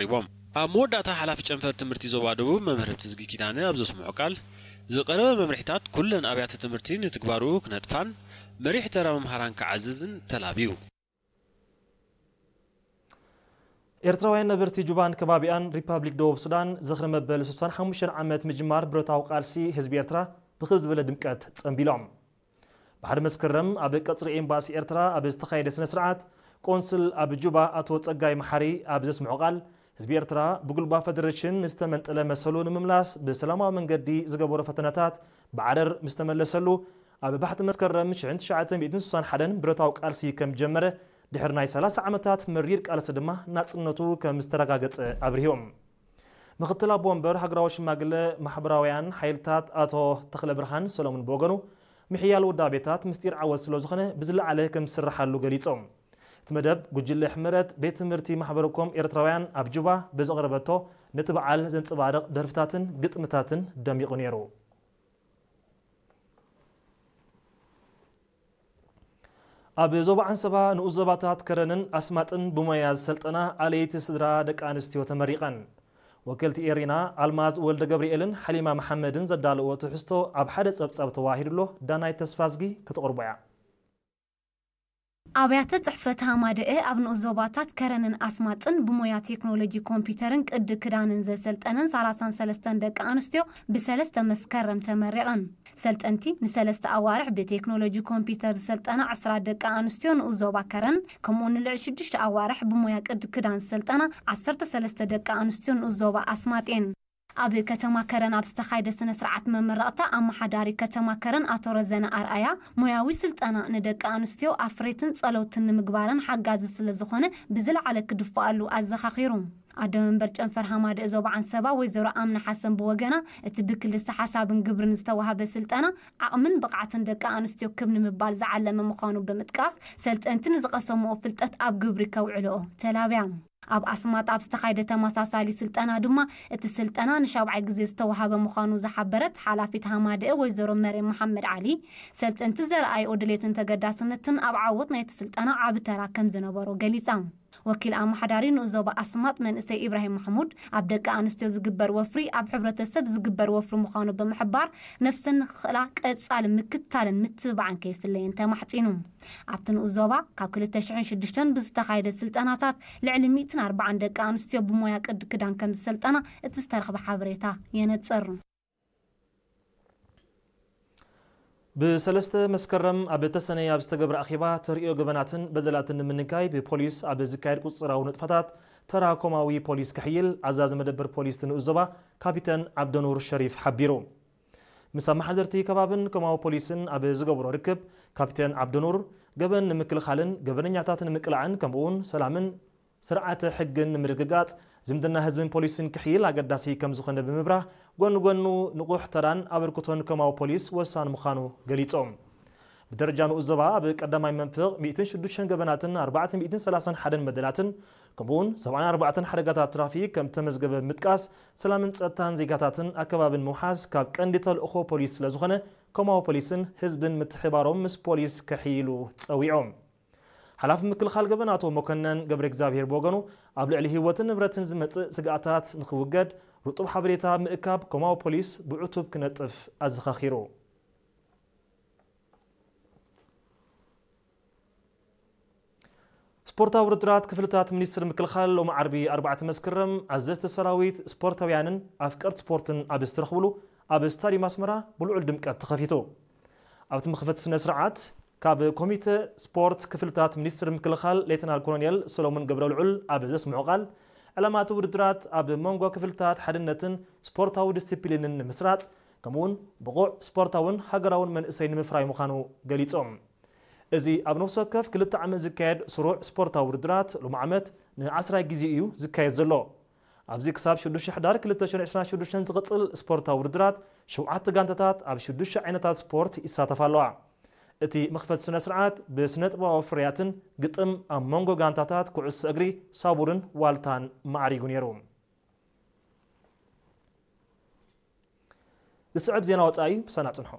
ተዛሪቦም። ኣብ መወዳእታ ሓላፊ ጨንፈር ትምህርቲ ዞባ ደቡብ መምህር ህብትዝጊ ኪዳነ ኣብ ዘስምዖ ቃል፣ ዝቐረበ መምርሒታት ኩለን ኣብያተ ትምህርቲ ንትግባሩ ክነጥፋን መሪሕ ተራ መምሃራን ክዓዝዝን ተላብዩ። ኤርትራውያን ነበርቲ ጁባን ከባቢኣን ሪፓብሊክ ደቡብ ሱዳን ዝኽሪ መበል ስሳን ሓሙሽተን ዓመት ምጅማር ብረታዊ ቃልሲ ህዝቢ ኤርትራ ብኽብ ዝበለ ድምቀት ጸንቢሎም። ብሓደ መስከረም ኣብ ቀጽሪ ኤምባሲ ኤርትራ ኣብ ዝተኻየደ ስነ ስርዓት፣ ቆንስል ኣብ ጁባ ኣቶ ጸጋይ መሓሪ ኣብ ዘስምዖ ቃል፣ ህዝቢ ኤርትራ ብጉልባብ ፈደረሽን ንዝተመንጠለ መሰሉ ንምምላስ ብሰላማዊ መንገዲ ዝገበሮ ፈተነታት ብዓረር ምስ ተመለሰሉ፣ ኣብ ባሕቲ መስከረም ሽሕን ትሽዓተ ሚእትን ስሳን ሓደን ብረታዊ ቃልሲ ከም ጀመረ፣ ድሕሪ ናይ ሰላሳ ዓመታት መሪር ቃልሲ ድማ ናጽነቱ ከም ዝተረጋገጸ ኣብሪሆም። ምክትል ኣቦ ወንበር ሃገራዊ ሽማግለ ማሕበራውያን ሓይልታት ኣቶ ተኽለ ብርሃን ሰሎሙን ብወገኑ፣ ምሕያል ውዳቤታት ምስጢር ዓወት ስለ ዝኾነ ብዝለዓለ ከም ዝስርሓሉ ገሊጾም። እቲ መደብ ጉጅለ ሕመረት ቤት ትምህርቲ ማሕበረኮም ኤርትራውያን ኣብ ጁባ ብዘቕረበቶ ነቲ በዓል ዘንጸባርቕ ደርፍታትን ግጥምታትን ደሚቑ ነይሩ። ኣብ ዞባ ዓንሰባ ንኡስ ዞባታት ከረንን ኣስማጥን ብሞያ ዝሰልጠና ኣለይቲ ስድራ ደቂ ኣንስትዮ ተመሪቐን። ወከልቲ ኤሪና ኣልማዝ ወልደ ገብርኤልን ሓሊማ መሓመድን ዘዳለዎ ትሕዝቶ ኣብ ሓደ ጸብጻብ ተዋሂዱሎ። ዳናይት ተስፋዝጊ ክትቕርቦ እያ። ኣብያተ ጽሕፈት ሃማደኤ ኣብ ንኡስ ዞባታት ከረንን ኣስማጥን ብሞያ ቴክኖሎጂ ኮምፒውተርን ቅዲ ክዳንን ዘሰልጠነን ሰላሳን ሰለስተን ደቂ ኣንስትዮ ብሰለስተ መስከረም ተመሪቐን። ሰልጠንቲ ንሰለስተ ኣዋርሕ ብቴክኖሎጂ ኮምፒውተር ዝሰልጠና ዕስራ ደቂ ኣንስትዮ ንኡስ ዞባ ከረን፣ ከምኡ ንልዕሊ ሽዱሽተ ኣዋርሕ ብሞያ ቅዲ ክዳን ዝሰልጠና ዓሰርተ ሰለስተ ደቂ ኣንስትዮ ንኡስ ዞባ ኣስማጥ እየን። ኣብ ከተማ ከረን ኣብ ዝተኻየደ ስነ ስርዓት መመረቕታ፣ ኣመሓዳሪ ከተማ ከረን ኣቶ ረዘነ ኣርኣያ፣ ሞያዊ ስልጠና ንደቂ ኣንስትዮ ኣፍረይትን ጸለውትን ንምግባረን ሓጋዚ ስለ ዝኾነ ብዝለዓለ ክድፍኣሉ ኣዘኻኺሩ። ኣደ መንበር ጨንፈር ሃማደኤ ዞባ ዓንሰባ ወይዘሮ ኣምና ሓሰን ብወገና፣ እቲ ብክልሰ ሓሳብን ግብርን ዝተዋህበ ስልጠና ዓቕምን ብቕዓትን ደቂ ኣንስትዮ ክብ ንምባል ዝዓለመ ምዃኑ ብምጥቃስ፣ ሰልጠንቲ ንዝቐሰምኦ ፍልጠት ኣብ ግብሪ ከውዕልኦ ተላብያ። ኣብ ኣስማጥ ኣብ ዝተኻየደ ተመሳሳሊ ስልጠና ድማ፣ እቲ ስልጠና ንሻብዓይ ግዜ ዝተዋህበ ምዃኑ ዝሓበረት ሓላፊት ሃማደኤ ወይዘሮ መርየም መሓመድ ዓሊ፣ ሰልጠንቲ ዘርኣይኦ ድሌትን ተገዳስነትን ኣብ ዓወት ናይቲ ስልጠና ዓቢ ተራ ከም ዝነበሮ ገሊጻ። ወኪል ኣመሓዳሪ ንኡስ ዞባ ኣስማጥ መንእሰይ ኢብራሂም ማሕሙድ፣ ኣብ ደቂ ኣንስትዮ ዝግበር ወፍሪ ኣብ ሕብረተሰብ ዝግበር ወፍሪ ምዃኑ ብምሕባር፣ ነፍሰን ንኽኽእላ ቀጻሊ ምክትታልን ምትብባዕን ከይፍለየን ተማሕጺኑ። ኣብቲ ንኡስ ዞባ ካብ ክልተ ሽሕን ሽዱሽተን ብዝተኻየደ ስልጠናታት ልዕሊ ሚእትን ኣርባዓን ደቂ ኣንስትዮ ብሞያ ቅዲ ክዳን ከም ዝሰልጠና እቲ ዝተረኽበ ሓበሬታ የነጽር። ብሰለስተ መስከረም ኣብ ተሰነይ ኣብ ዝተገብረ ኣኼባ ተርእዮ ገበናትን በደላትን ንምንካይ ብፖሊስ ኣብ ዝካየድ ቁጽጽራዊ ንጥፈታት ተራ ኮማዊ ፖሊስ ክሕይል ኣዛዚ መደበር ፖሊስ ንኡስ ዞባ ካፒተን ዓብደኑር ሸሪፍ ሓቢሩ። ምስ ኣመሓደርቲ ከባብን ኮማዊ ፖሊስን ኣብ ዝገብሮ ርክብ፣ ካፒተን ዓብደኑር፣ ገበን ንምክልኻልን ገበነኛታት ንምቅላዕን ከምኡውን ሰላምን ስርዓተ ሕግን ንምርግጋጽ ዝምድና ህዝብን ፖሊስን ክሕይል ኣገዳሲ ከም ዝኾነ ብምብራህ፣ ጎኒ ጎኑ ንቑሕ ተራን ኣበርክቶን ኮማዊ ፖሊስ ወሳኒ ምዃኑ ገሊጾም። ብደረጃ ንኡስ ዞባ ኣብ ቀዳማይ መንፍቕ ሚእትን ሽዱሽተን ገበናትን ኣርባዕተ ሚእትን ሰላሳን ሓደን በደላትን ከምኡውን ሰብዓን ኣርባዕተን ሓደጋታት ትራፊክ ከም ተመዝገበ ብምጥቃስ፣ ሰላምን ጸጥታን ዜጋታትን ኣከባብን ምውሓስ ካብ ቀንዲ ተልእኾ ፖሊስ ስለ ዝኾነ፣ ኮማዊ ፖሊስን ህዝብን ምትሕባሮም ምስ ፖሊስ ከሕይሉ ጸዊዖም። ሓላፊ ምክልኻል ገበን ኣቶ መኮነን ገብረ እግዚኣብሔር ብወገኑ፣ ኣብ ልዕሊ ህይወትን ንብረትን ዝመጽእ ስግኣታት ንኽውገድ ርጡብ ሓበሬታ ምእካብ ኮማዊ ፖሊስ ብዕቱብ ክነጥፍ ኣዘኻኺሩ። ስፖርታዊ ውድድራት ክፍልታት ሚኒስትር ምክልኻል ሎሚ ዓርቢ ኣርባዕተ መስከረም ኣዘዝቲ ሰራዊት፣ ስፖርታውያንን ኣፍቀርቲ ስፖርትን ኣብ ዝተረኽብሉ ኣብ ስታዲየም ኣስመራ ብልዑል ድምቀት ተኸፊቱ። ኣብቲ መኽፈቲ ስነ ስርዓት ካብ ኮሚተ ስፖርት ክፍልታት ሚኒስትር ምክልኻል ሌተናል ኮሎኔል ሰሎሙን ገብረልዑል ኣብ ዘስምዖ ቃል፣ ዕላማ እቲ ውድድራት ኣብ መንጎ ክፍልታት ሓድነትን ስፖርታዊ ዲስፕሊንን ንምስራጽ፣ ከምኡውን ብቑዕ ስፖርታውን ሃገራውን መንእሰይ ንምፍራይ ምዃኑ ገሊጾም። እዚ ኣብ ነፍሲ ወከፍ ክልተ ዓመት ዝካየድ ስሩዕ ስፖርታዊ ውድድራት፣ ሎሚ ዓመት ንዓስራይ ግዜ እዩ ዝካየድ ዘሎ። ኣብዚ ክሳብ ሽዱሽተ ሕዳር ክልተ ሽሕን ዕስራን ሽዱሽተን ዝቕጽል ስፖርታዊ ውድድራት፣ ሸውዓተ ጋንታታት ኣብ ሽዱሽተ ዓይነታት ስፖርት ይሳተፋ ኣለዋ። እቲ መኽፈቲ ስነ ስርዓት ብስነ-ጥበባዊ ፍርያትን ግጥም ኣብ መንጎ ጋንታታት ኩዕሶ እግሪ ሳቡርን ዋልታን ማዕሪጉ ነይሩ። ዝስዕብ ዜና ወጻኢ ምሳና ጽንሑ።